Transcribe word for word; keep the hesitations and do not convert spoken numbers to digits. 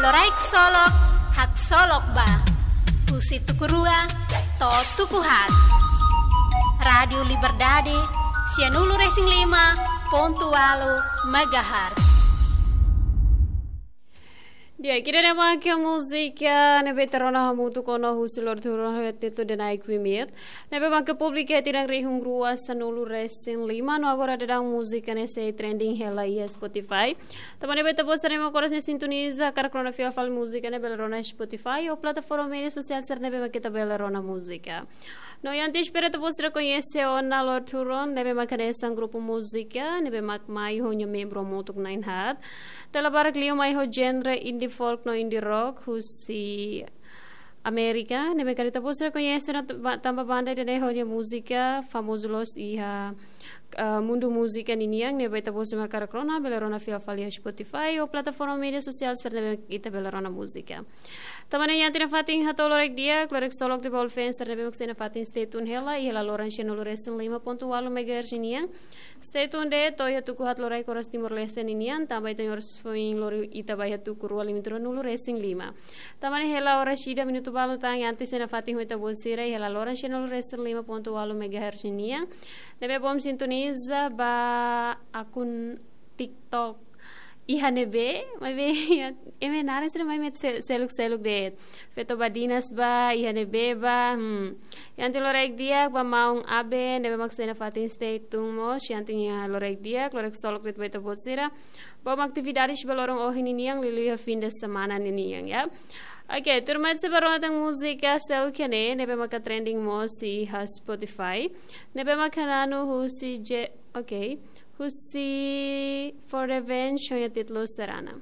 Loraik Solok, Haksolok Ba. Husi tuku rua to'o tuku haat. Rádiu Liberdade, sianulu-resin-lima pontu ualu megahertz. Di'ak, ida-ne'e mak múzika ne'ebé ita rona hamutuk ona husi Lord Huron ho títulu The Night We Meet. Ne'ebé mak publika iha tinan rihun rua sanulu-resin-lima, no agora daudaun múzika ne'e sei trending hela iha Spotify. Tanba ne'e ba ita-boot sira ne'ebé mak oras ne'e sintoniza hakarak rona fiar fali múzika ne'e bele rona Spotify ou plataforma média sosiál sira ne'ebé mak ita bele rona múzika. No iha antes para ita-boot sira koñese ona Lord Huron, ne'ebé mak hanesan grupu múzika ne'ebé mak mai ho nia membru hamutuk na'in haat. Dala barak liu mai ho genre indie folk no indie rock husi Amérika, ne'ebé karik ita-boot sira koñese ona tanba, tanba banda ida-ne'e ho nia múzika famozu loos iha, eh, mundu múzika ninian, ne'ebé ita-boot sira mak hakarak rona bele rona fiar fali iha Spotify ou plataforma média sosiál sira ne'ebé ita bele rona múzika. Tanba ne'e iha tinan fatin hato'o loraik di'ak, loraik Solok de'it ba all fans sira ne'ebé mak sei nafatin stay tune hela iha hela loron sianulu-resin-lima pontu ualu megahertz nian. Stay tune de'it to'o iha tuku haat loraik oras Timor-Leste ninian, tanba ita-nia oras foin lori ita ba iha tuku rua limitu ruanulu-resin-lima. Tanba ne'e hela oras ida minutu balu tan, iha antes sei nafatin ho ita-boot sira iha hela loron sianulu-resin-lima pontu ualu megahertz nian. Ne'ebé bom sintoniza ba akun TikTok iha ne'ebé, maibé iha, ema naran sira mai met se-, seluk-seluk de'it. Feto Badinas ba, iha ne'ebé ba, hmm. Iha antes loraik di'ak ba maun Abe, ne'ebé mak sei nafatin stay tune mós, iha antes iha loraik di'ak, loraik Solok de'it ba ita-boot sira. Bom atividades ba loron ohin ninian, liuliu iha fim de semana ninian, ya. Oke, tuirmai ita sei ba rona tan múzika seluk iha ne'e, ne'ebé maka trending mós iha Spotify. Ne'ebé maka na'in husi je, oke. Husi For Revenge, ho nia títulu Serana.